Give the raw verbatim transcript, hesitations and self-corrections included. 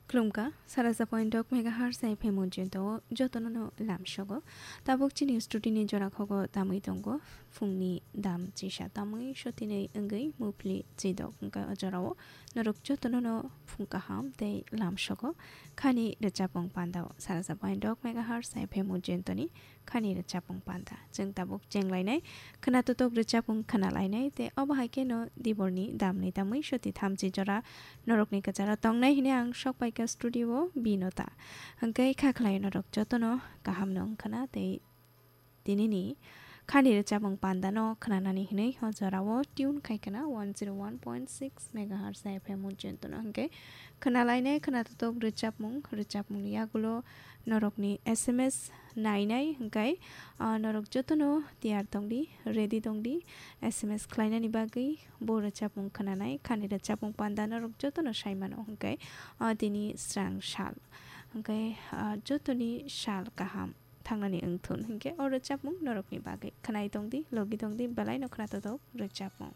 Khulumkha, saraja point dok megahertz F M o jento jotono no lamsogo. Tabuk chini studio ni jora khogo tamwi tongo. Phungni dam chisa tamwi sotinwi wngwi mupli chidok wngkha o jorao. Norok jotono no phung kaham tei lamsogo. Khani rwchapmung pandao saraja point dok megahertz F M o jentoni khani rwchapmung panda. Chwng tabuk chenglainai, khwnatotok rwchapmung khwnalainai, tei obo hai kheno diborni damni tamwi soti thamchi jora norokni kwcharo tongnai hwnwi ang sokpaikha studio o binota. Hwnkhe kha khlai norok jotono kahamno wngkhana tei tinini khani rwchapmung pandano khwnanani hwnwi o jorao tune khai khna one zero one point six megahertz F M o jentono hwnkhe khwnalainai khwnatotok rwchapmung, rwchapmungni yagulo norokni S M S nainai hwnkhe, ah, norok jotono tiyar tongdi, ready tongdi, S M S khlainani bagwi bo rwchapmung khwnanai, khani rwchapmung panda norok jotono saimano hwnkhe, ah, tini srang sal hwnkhe, ah, jotoni sal kaham thangnani wngthun hwnkhe o rwchapmung norokni bagwi khwnai tongdi, logi tongdi, belaino khwnatotok rwchapmung.